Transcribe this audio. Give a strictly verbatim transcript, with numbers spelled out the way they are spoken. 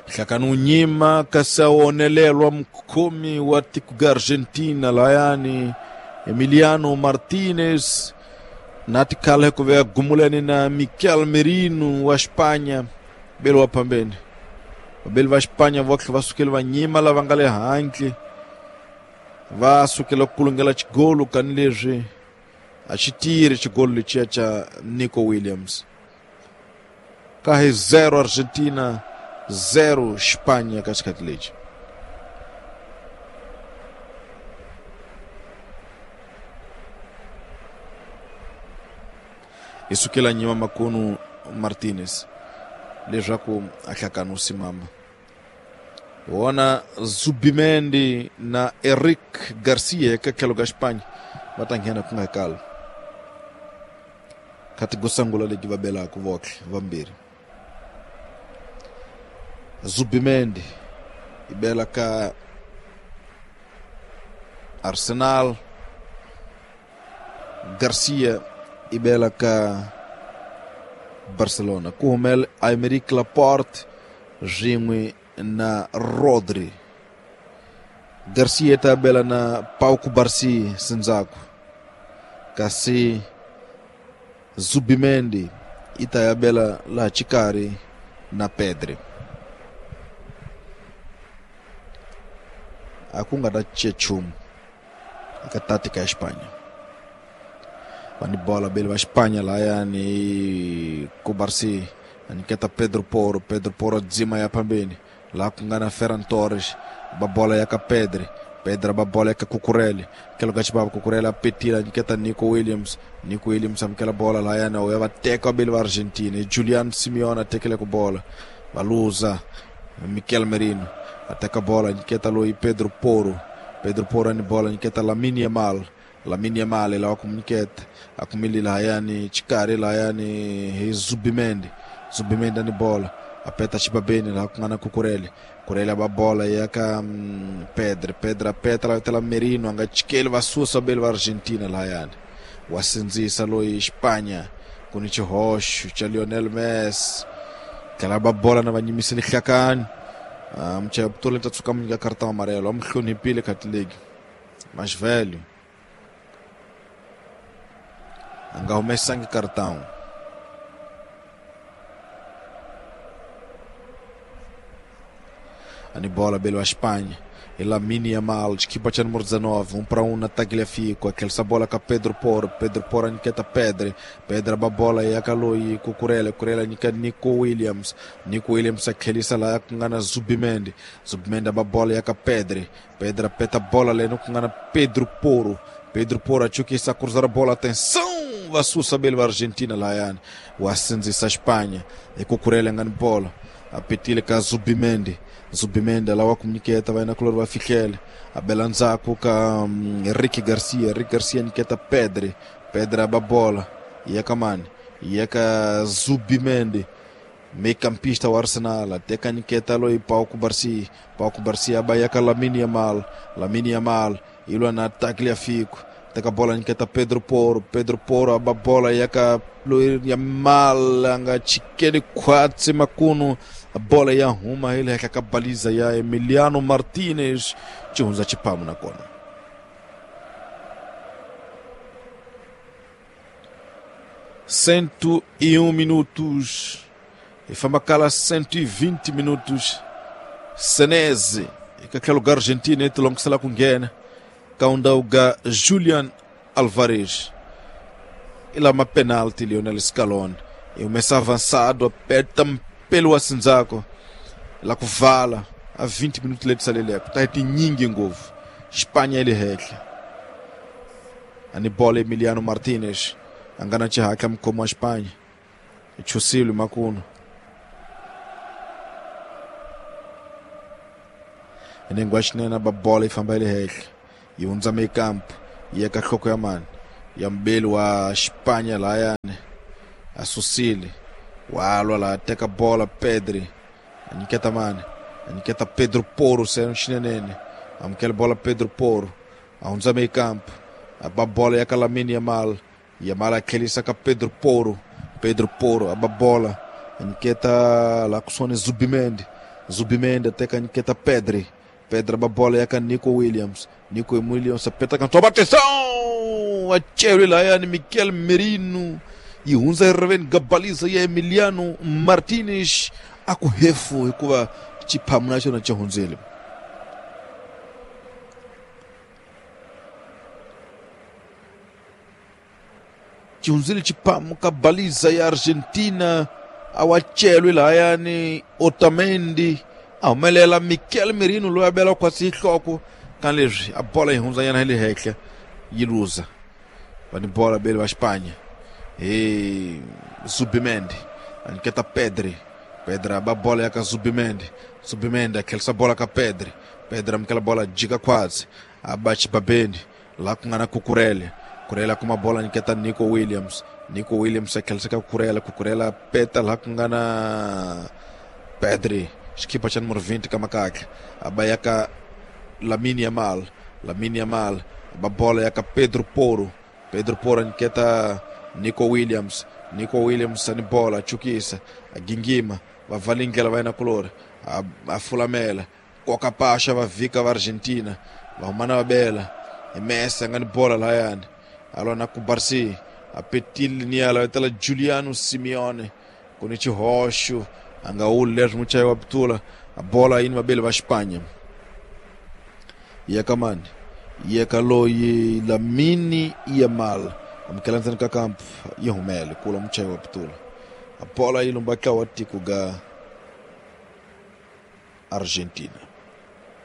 Hlakani nyima kasi a onelelwa mukhomi wa tiko ga Argentina layani Emiliano Martinez na tikhala hikuva ya gumulani na Mikel Merino wa Espanha belo wa phambeni. Vabeli va Espanha votlhe va sukele va nyima lava nga le handle va sukela ku kulungela xigolo kani leswi a xi tirhi xigolo lexiya xa Nico Williams. Ka hi zero Argentina zero Espanha ka xikhathi lexi. I sukela nyima makunu Martinez leswaku a hlakani u simama. Wona Zubimendi na Eric Garcia eka tlhelo ka Espanha va ta nghena ku nga kala. Khati go sungula leti va belaka votlhe vambirhi. Zubimendi i bela ka Arsenal, Garcia i bela ka Barcelona. Ku humele Aymeric Laporte swin'we na Rodri. Garcia ta bela na Pau Cubarsí sendzhaku, kasi Zubimendi i ta ya bela laha xikarhi na Pedri. A ku nga ta cinca nchumu eka tática ya Espanha. Va ni bola beli va Espanha lahayani Cubarsí a nyiketa Pedro Porro. Pedro Porro dzima ya phambeni laha ku nga na Ferran Torres, ba bola ya ka Pedri. Pedri ba bola ya ka Cucurella, tlhelo ka xibava Cucurella a petile a nyiketa Nico Williams. Nico Williams amukela bola lahayani ya va teka vabeli va Argentina. Julian Simeone a tekele ku bola va luza. Mikel Merino a teka bola nyiketa loyi Pedro Porro. Pedro Porro ni bola nyiketa Lamine Yamal. Lamine Yamal lawa ku nyiketa a kumile lahayani xikarhi lahayani hi Zubimendi. Zubimendi ni bola a peta xibabeni laha ku nga na Cucurella. Cucurella ba bola ya ka um, Pedri. Pedri a peta la tela Merino a nga chikeli va susa vabeli va Argentina lahayani. Wa sindzisa loyi Espanha ku ni xihoxo xa Lionel Messi. Tlhela ba bola na va nyimisile hlakani. Uh, muchaya vutomi ta tshuka mu nyika karata amarelo a mu hloniphile khati legi mas velho a nga humesangi cartão. A ni bola belo a Espanha e Lamine Yamal, equipa cha número dezenove, um para um na Tagliafico, aquela bola com Pedro Porro. Pedro Porro nyiketa Pedri. Pedri ba bola ya ka loyi Cucurella. Cucurella nyika Nico Williams. Nico Williams a tlhelisa laha ku nga na Zubimendi. Zubimendi ba bola ya ka Pedri. Pedri peta bola leno ku nga na Pedro Porro. Pedro Porro a chukisa cruzar bola, atenção, va susa belo Argentina lahayani. Wa sindzisa Espanha e Cucurella nga ni bola a petile ka Zubimendi. Zubimendi lawa ku nyiketa va yena kulori va fihlele a bela ndzhaku ka um, Ricky Garcia. Ricky Garcia nyiketa Pedri. Pedri a ba bola ya ka mani ya ka Zubimendi, meio-campista wa Arsenal. A teka nyiketa loyi Pau Cubarsí. Pau Cubarsí a ba ya ka Lamine Yamal. Lamine Yamal i lwa na Tagliafico. Teka bola nyiketa Pedro Porro. Pedro Porro a ba bola ya ka loyi Yamal a nga chikeli khwatsi makunu. Bola ya huma hi le henhla ka baliza ya Emiliano Martinez. Xi hundza xiphamu nakona. Cento e um minutos i famba kala cento e vinte minutos. Senese eka tlhelo ka Argentina yi tilongisela ku nghena ka undhawu ga Julian Alvarez. I lama penalty Lionel Scaloni i humesa avançado a peta mpelo wa sindzako la ku vala a vinte minutos leti saleleke ta hi tinyingi ngopfu. Espanha yi le henhla. A ni bola Emiliano Martinez a nga na xihatla mukhomi wa Espanha i chusile makunu. Nengwa xinene ba bola yi famba yi le henhla yi hundza mekampo yi ya ka nhloko ya mani ya mbeli wa Espanha lahayani a susile wa lwa laha teka bola Pedri a nyiketa mani a nyiketa Pedro Porro se xinenene amukela bola Pedro Porro a hundza mekampo a ba bola ya ka Lamine Yamal. Yamal a tlhelisa ka Pedro Porro. Pedro Porro a ba bola a nyiketa laha kusuhani Zubimendi. Zubimendi teka nyiketa Pedri. Pedri ba bola ya ka Nico Williams. Nico Williams apeta kantoba, atenção! Achero layani Mikel Merino. Yi hundza eririveni gabaliza ya Emiliano Martinez a ku hefu hikuva xiphamu na xona xi hundzile. Xi hundzile xiphamu ka baliza ya Argentina a wa celwi lahayani Otamendi a humelela Mikel Merino loyi a bela khwatsi nhloko ka leswi a bola yi hundzanyana hi le henhla yi luza va ni bola beli va Xipanya hi Zubimendi a nyiketa Pedri. Pedri a ba bola ya ka Zubimendi. Zubimendi a tlherisa bola ka Pedri. Pedri amukela bola jika khwatsi a ba xibabeni laha ku nga na Kukurele. Kurela kuma bola nyiketa Nico Williams. Nico Williams a tlherisa ka Kukurela. Kukurela peta laha ku nga na Pedri xikipa xa numero twenty ka makakha a ba ya ka Lamine Yamal. Lamine Yamal a ba bola ya ka Pedro Porro. Pedro Porro nyiketa Nico Williams. Nico Williams ani bola chukisa a gingima va valingela va yena kulori a, a fulamela koka paxa va vhika va Argentina va huma na va bela hi Messi a nga ni bola lahayani a lwa na Kubarsi a petile niyala va tela Giuliano Simeone ku ni xihoxo a nga wuli leswi muchayi wa pitula a bola yini vabeli va Xipanya ya ka mani ya ka loyi Lamine Yamal amukela ndzeni ka kamp yi humele kula muchayi wa pitula a bola yi lumba tlawa tiko ga Argentina.